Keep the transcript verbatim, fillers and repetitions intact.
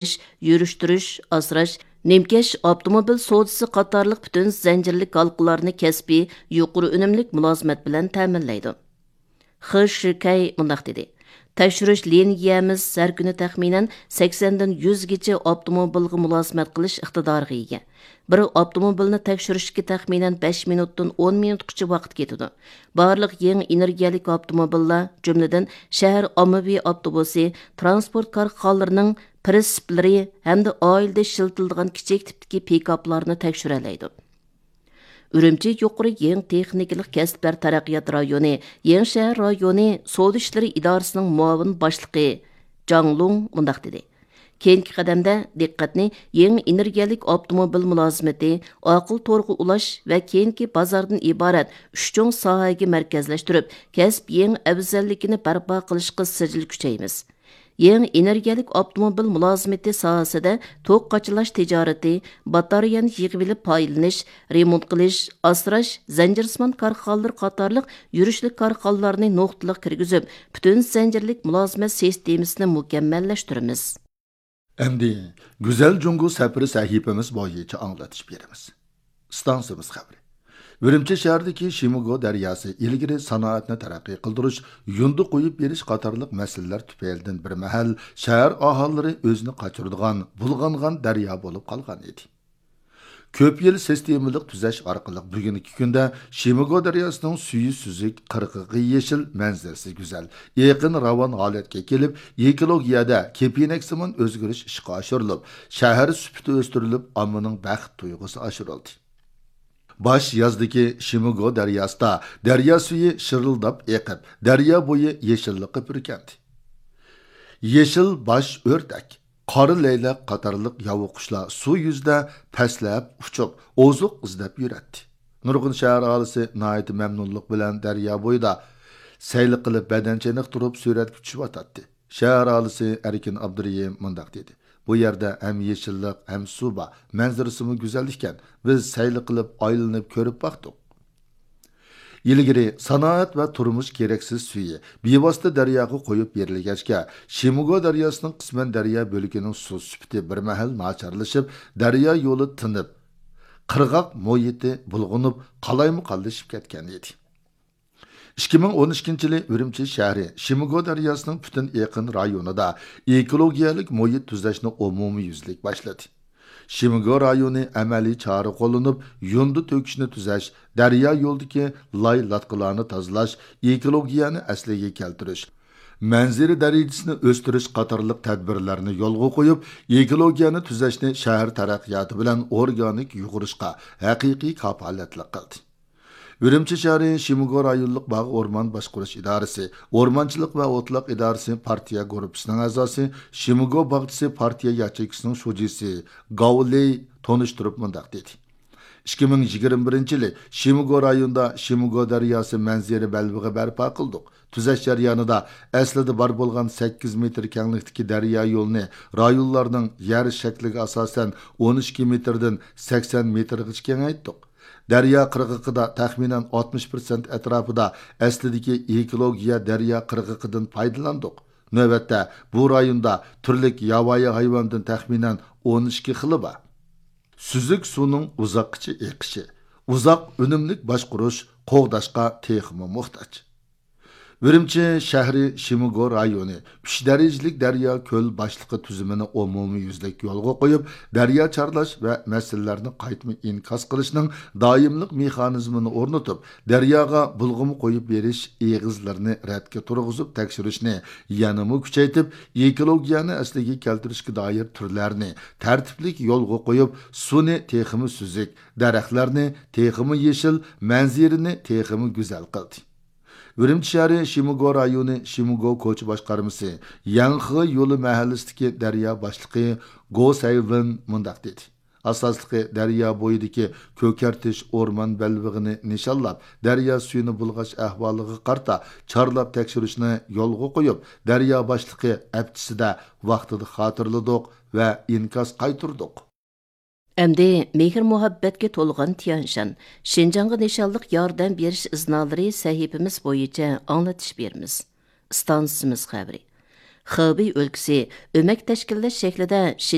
يۈرۈشتۈرۈش، ئاسراش، نىمكەش ئاپتوموبىل سودىسى قاتارلىق پۈتۈن زەنجىرلىك ھالقىلارنى كەسپىي، يۇقىرى ئۈنۈملۈك مۇلازىمەت بىلەن تەمىنلەيدۇ. خې شىكەي مۇنداق دېدى: تەكشۈرۈش لىنىيەمىز ھەر كۈنى تەخمىنەن سەكسەندىن يۈزگىچە ئاپتوموبىلغا مۇلازىمەت قىلىش ئىقتىدارىغا ئىگە. بىر ئاپتوموبىلنى تەكشۈرۈشكە تەخمىنەن بەش مىنۇتتىن ئون مىنۇتقىچە ۋاقىت كېتىدۇ. بارلىق يېڭى ئېنېرگىيەلىك ئاپتوموبىللار، جۈملىدىن شەھەر ئاممىۋى ئاپتوبۇسى، ترانسپورت كارخانىلىرىنىڭ پرىتسېپلىرى ھەمدە ئائىلىدە ئىشلىتىلىدىغان كىچىك تىپتىكى پىكاپلارنى تەكشۈرەلەيدۇ. ئۈرۈمچى يۇقىرى يېڭى تېخنىكىلىق كەسىپلەر تەرەققىيات رايونى، يېڭى شەھەر رايونى سودا ئىشلىرى ئىدارىسىنىڭ مۇئاۋىن باشلىقى جاڭ لۇڭ مۇنداق دېدى: كېيىنكى قەدەمدە دىققەتنى يېڭى ئېنېرگىيەلىك ئاپتوموبىل مۇلازىمىتى، ئاقىل تورغا ئۇلاش ۋە كېيىنكى بازاردىن ئىبارەت ئۈچ چوڭ ساھەگە مەركەزلەشتۈرۈپ، كەسىپ يېڭى ئەۋزەللىكىنى بەرپا قىلىشقا سىجىل كۈچەيمىز. يېڭى ئېنېرگىيەلىك ئاپتوموبىل مۇلازىمىتى ساھەسىدە توك قاچىلاش تىجارىتى، باتارېيەنى يىغىۋېلىپ پايدىلىنىش، رېمونت قىلىش، ئاسراش، زەنجىرسىمان كارخانىلىرى قاتارلىق يۈرۈشلۈك كارخانىلارنى نۇقتىلىق كىرگۈزۈپ، پۈتۈن زەنجىرلىك مۇلازىمەت سىستېمىسىنى مۇكەممەللەشتۈرىمىز. ئەمدى گۈزەل جۇڭگو سەپىرى سەھىپىمىز بويىچە ئاڭلىتىش بېرىمىز. ئىستانسىمىز خەۋىرى. ئۈرۈمچى شەھىرىدىكى شىمىگو دەرياسى ئىلگىرى سانائەتنى تەرەققىي قىلدۇرۇش، يۇندى قويۇپ بېرىش قاتارلىق مەسىلىلەر تۈپەيلىدىن بىر مەھەل شەھەر ئاھالىلىرى ئۆزىنى قاچۇرىدىغان بۇلغانغان دەريا بولۇپ قالغان ئىدى. كۆپ يىل سىستېمىلىق تۈزەش ئارقىلىق بۈگۈنكى كۈندە شىمىگو دەرياسىنىڭ سۈيى سۈزۈك، قىرغىقى يېشىل، مەنزىرىسى گۈزەل، ئېقىن راۋان ھالەتكە كېلىپ، ئېكولوگىيەدە كېپىنەكسىمان ئۆزگىرىش ئىشقا ئاشۇرۇلۇپ، شەھەر سۈپىتى ئۆستۈرۈلۈپ، ئاممىنىڭ بەخت تۇيغۇسى ئاشۇرۇلدى. باش يازدىكى شىمىگو دەرياسىدا دەريا سۈيى شىرىلداپ ئېقىپ، دەريا بويى يېشىللىققا پۈركەندى. يېشىل باش ئۆردەك، قارا لەيلەك قاتارلىق ياۋا قۇشلار سۇ يۈزىدە پەسلەپ ئۇچۇپ، ئوزۇق ئىزدەپ يۈرەتتى. نۇرغۇن شەھەر ئاھالىسى ناھايىتى مەمنۇنلۇق بىلەن دەريا بويىدا سەيلە قىلىپ، بەدەن چېنىقتۇرۇپ سۈرەتكە چۈشۈۋاتاتتى. شەھەر ئاھالىسى ئەركىن ئابدۇرېھىم مۇنداق دېدى: بۇ يەردە ھەم يېشىللىق، ھەم سۇ بار، مەنزىرىسىمۇ گۈزەل ئىكەن. بىز سەيلە قىلىپ، ئايلىنىپ كۆرۈپ باقتۇق. ئىلگىرى سانائەت ۋە تۇرمۇش كېرەكسىز سۈيى بىۋاسىتە دەرياغا قويۇپ بېرىلگەچكە، شىمىگو دەرياسىنىڭ قىسمەن دەريا بۆلىكىنىڭ سۇ سۈپىتى بىر مەھەل ناچارلىشىپ، دەريا يولى تىنىپ، قىرغاق مۇھىتى بۇلغىنىپ، قالايمىقانلىشىپ كەتكەن ئىدى. ئىككى مىڭ ئون ئىككىنچى يىلى ئۈرۈمچى شەھىرى شىمىگو دەرياسىنىڭ پۈتۈن ئېقىن رايونىدا ئېكولوگىيەلىك مۇھىت تۈزەشنى ئومۇميۈزلۈك باشلىدى. شىمىگو رايونى ئەمەلىي چارە قوللىنىپ، يۇندى تۆكۈشنى تۈزەش، دەريا يولىدىكى لاي لاتقىلارنى تازىلاش، ئېكولوگىيەنى ئەسلىگە كەلتۈرۈش، مەنزىرە دەرىجىسىنى ئۆستۈرۈش قاتارلىق تەدبىرلەرنى يولغا قويۇپ، ئېكولوگىيەنى تۈزەشنى شەھەر تەرەققىياتى بىلەن ئورگانىك يۇغۇرۇشقا ھەقىقىي كاپالەتلىك قىلدى. ئۈرۈمچى شەھىرى شىمىگو رايونلۇق باغ ئورمان باشقۇرۇش ئىدارىسى، ئورمانچىلىق ۋە ئوتلاق ئىدارىسى پارتىيە گۇرۇپپىسىنىڭ ئەزاسى، شىمىگو باغچىسى پارتىيە ياچېيكىسىنىڭ شۇجىسى گاۋ لېي تونۇشتۇرۇپ مۇنداق دېدى: ئىككى مىڭ يىگىرمە بىرىنچى يىلى شىمىگو رايونىدا شىمىگو دەرياسى مەنزىرە بەلبېغى بەرپا قىلدۇق. تۈزەش جەريانىدا ئەسلىدە بار بولغان سەككىز مېتىر كەڭلىكتىكى دەريا يولىنى رايونلارنىڭ يەر شەكلىگە ئاساسەن ئون ئىككى مېتىردىن سەكسەن مېتىرغىچە كېڭەيتتۇق. دەريا قىرغىقىدا تەخمىنەن ئاتمىش پىرسەنت ئەتراپىدا ئەسلىدىكى ئېكولوگىيە دەريا قىرغىقىدىن پايدىلاندۇق. نۆۋەتتە بۇ رايوندا تۈرلۈك ياۋايى ھايۋاندىن تەخمىنەن ئون ئىككى خىلى بار. سۈزۈك سۇنىڭ ئۇزاققىچە ئېقىشى، ئۇزاق ئۈنۈملۈك باشقۇرۇش، قوغداشقا تېخىمۇ موھتاج. ئۈرۈمچى شەھىرى شىمىگو رايونى ئۈچ دەرىجىلىك دەريا كۆل باشلىقى تۈزۈمىنى ئومۇميۈزلۈك يولغا قويۇپ، دەريا چارلاش ۋە مەسىلىلەرنى قايتما ئىنكاس قىلىشنىڭ دائىملىق مېخانىزمىنى ئورنىتىپ، دەرياغا بۇلغىما قويۇپ بېرىش ئېغىزلىرىنى رەتكە تۇرغۇزۇپ تەكشۈرۈشنى يەنىمۇ كۈچەيتىپ، ئېكولوگىيەنى ئەسلىگە كەلتۈرۈشكە دائىر تۈرلەرنى تەرتىپلىك يولغا قويۇپ، سۇنى تېخىمۇ سۈزۈك، دەرەخلەرنى تېخىمۇ يېشىل، مەنزىرىنى تېخىمۇ گۈزەل قىلدى. ئۈرۈمچى شەھىرى شىمىگو رايونى شىمىگو كوچا باشقارمىسى يەنخې يولى مەھەللىسىدىكى دەريا باشلىقى گو سەيۋېن مۇنداق دېدى: ئاساسلىقى دەريا بويىدىكى كۆكەرتىش ئورمان بەلبېغىنى نىشانلاپ، دەريا سۈيىنى بۇلغاش ئەھۋالىغا قارىتا چارلاپ تەكشۈرۈشنى يولغا قويۇپ، دەريا باشلىقى ئەپچىسىدە ۋاقتىدا خاتىرىلىدۇق ۋە ئىنكاس قايتۇردۇق. ئەمدى مېھىر-مۇھەببەتكە تولغان تيەنشان، شىنجاڭغا نىشانلىق ياردەم بېرىش ئىزنالىرى سەھىپىمىز بويىچە ئاڭلىتىش بېرىمىز. ئىستانسىمىز خەۋىرى. خېبېي ئۆلكىسى ئۆمەك تەشكىللەش شەكلىدە